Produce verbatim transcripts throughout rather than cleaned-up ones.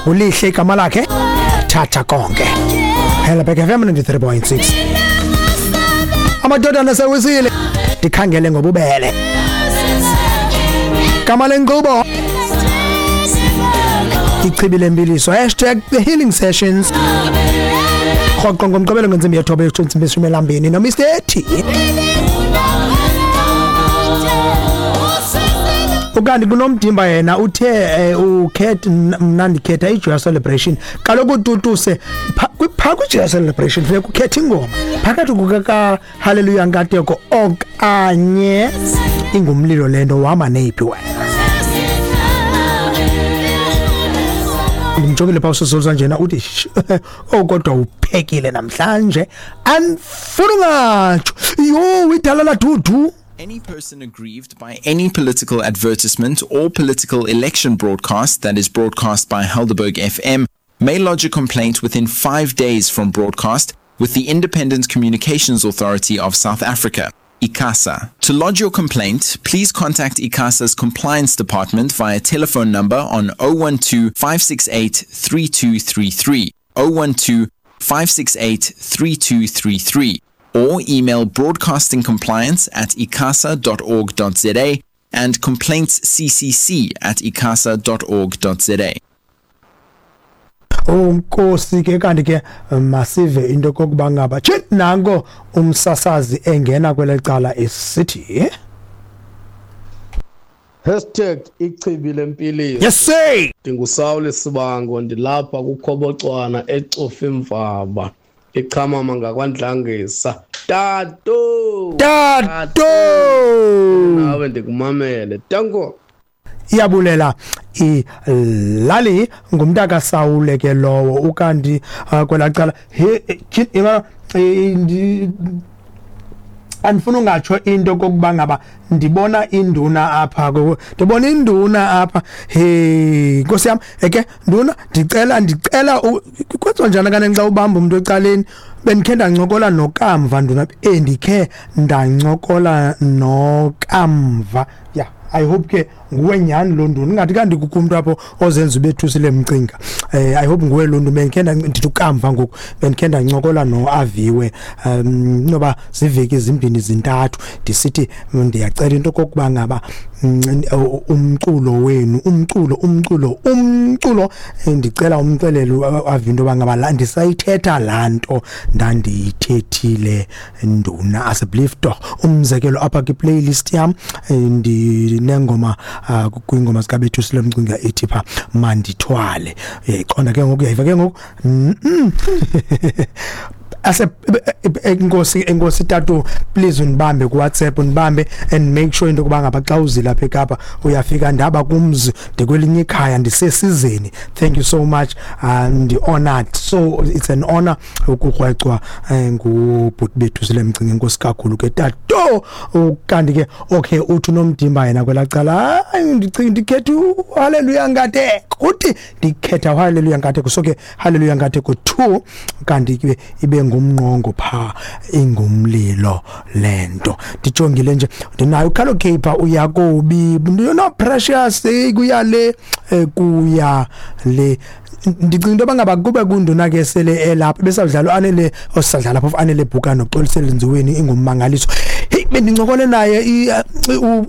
Ulihle igama lakhe, thatha konke. Helderberg F M ninety-three point six. Amadodana sewisile, ndikhangele ngobubele. Gama lenkqubo Ichibi Lempiliso, hashtag the healing sessions. Rhoqo ngomgqibelo ngentsimbi yethoba intsimbi yeshumi elambini no Mister T. Ukanti kunomdimba yena uthe ukhetha mna ndikhetha iJoy Celebration. Kaloku tutuse pha kwiJoy Celebration funeka ukhethe ingoma phakathi kuka Hallelujah Nkateko okanye ingumlilo lento wama neyiphi wena. Ndimjongile pha usozolwa njena uthi oh kodwa uphekile namhlanje andifuna ungatsho yho idala la dudu. Any person aggrieved by any political advertisement or political election broadcast that is broadcast by Helderberg F M may lodge a complaint within five days from broadcast with the Independent Communications Authority of South Africa, ICASA. To lodge your complaint, please contact ICASA's Compliance Department via telephone number on oh one two, five six eight, three two three three, oh one two, five six eight, three two three three, or email broadcastingcompliance at icasa dot org dot za and complaintsccc at icasa dot org dot za. Unkosi ke kanti ke masive into kokuba ngaba tshit nanko umsasazi engena kwelecala esithi Hashtag ichibi lempiliso. Yes sir. Ndingusawule Sibango, ndilapha kuKhobocwana eCofimvaba, echamama ngakwaNdlangisa. Tato Tato nawe ndikumamele. Tanko. Iyabulela ilali ngumntaka Sawule ke lowo. Ukanti kwelacala he andifuna ungatsho into kokuba ngaba ndibona induna apha, ndibona induna apha. Hey Nkosi yam, eke nduna ndicela ndicela kwenziwa njani kanene xa ubamba umuntu ecaleni? Bendikhe ndancokola noKamva nduna, endikhe ndancokola noKamva. Yeah, I hope ke nguwe nyani lo nduna, ingathi kanti kukho umuntu apho ozenza ubethusile mcinga. Eh I hope nguwe lo nduna. Bendikhe ndithi uKamva ngoku, bendikhe ndancokola noAviwe um noba ziveki ezimbini zintathu, ndisithi ndiyacela into kokuba ngaba umculo wenu, umculo umculo umculo ndicela umcelelo Aviwe into yoba ngaba la ndisayithetha laa nto ndandiyithethile nduna. Asseblief tog. Umzekelo apha kwi-playlist yam ndinengoma kwingoma zikaBethusile Mcinga ethi pha mandithwale. Uyayiqonda ke ngoku, uyayiva ke ngoku. Ase enkosi enkosi tatu, please unibambe ku WhatsApp, unibambe and make sure into kuba ngaba xa uzila apha eKapa uyafika ndaba kumzi ndikwelinye ikhaya ndisesizeni. Thank you so much, and honored. So it's an honor ukukrwecwa ngubhuti bethu sile Mcinga. Enkosi kakhulu ke tatu. Kanti ke okay uthi unomdimba yena kwelacala, hayi ndicinga ndikhetha Hallelujah Nkateko, uthi ndikhetha Hallelujah Nkateko. So ke Hallelujah Nkateko two, kanti ke ibe ngumnqongo pha ingumlilo lento. Ndijongile nje ndinayo ukhalo Cape uYakobi, no Precious kuya le kuya le. Ndicinga into bangaba kube kunduna ke sele elapha besadlala anele osadlala phofu anele bhuka noXolisele Nziweni ingummangaliso. Hey bendincokole naye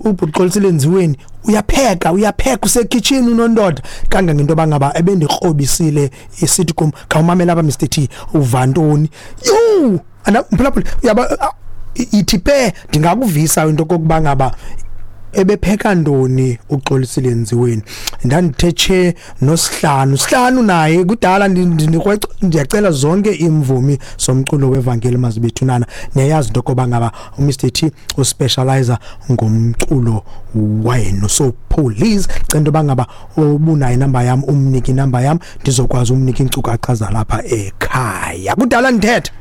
uBuxolisele Nziweni, uyapheka uyapheka usekitchen unondoda kangangento bangaba ebendikrobisile isithi kum khawumamela apha Mister T uvantoni. Yho ana mphulaphula uyaba ithi pe ndingakuvisa into kokuba ngaba ebepheka ntoni uXolisile Nziweni. Ndandithethe nosihlanu sihlanu naye kudala ndiyacela zonke imvumi somculo wevangeli mazibethunana. Niyayazi into koba ngaba uMr T uspecializer ngomculo wenu, so please cela into bangaba ubunayo inamba yam umnike inamba yam ndizokwazi umnika iinkcukacha zalapha ekhaya. Kudala ndithetha.